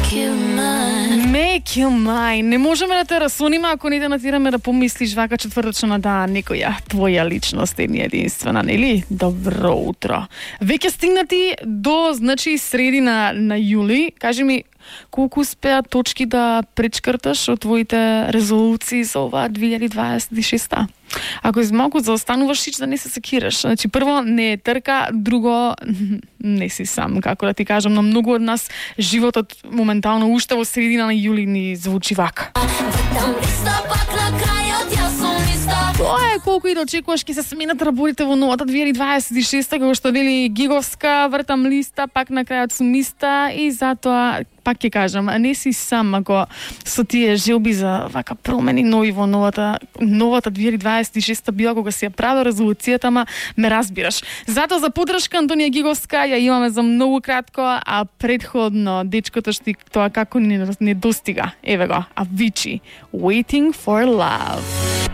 Make you mine. Не можеме да те расуниме ако не те натираме да помислиш вака четвртачно на дан некоја твоја личност е единствена, нели? Добро утро. Веќе стигнати до, значи, средина на јули. Кажи ми, колку успеа точки да пречкрташ од твоите резолуции за ова 2026? Ако малку заостануваш, сич да не се секираш. Значи, прво, не е трка, друго, не си сам, како да ти кажам, на многу од нас животот моментално уште во средина на јули ни звучи вака. Тоа е колку и да очекуваш ќе се сменат работите во новата 2026, како што вели Гиговска, вртам листа, пак на крајот сум иста и затоа пак ќе кажам, не си сам ако со тие желби за вака промени нови во новата 2026 била кога си ја правил резолуцијата, ама ме разбираш. Затоа за поддршка Антонија Гиговска ја имаме за многу кратко, а предходно дечкото што тоа како не достига. Еве го, Авичи, Waiting for Love.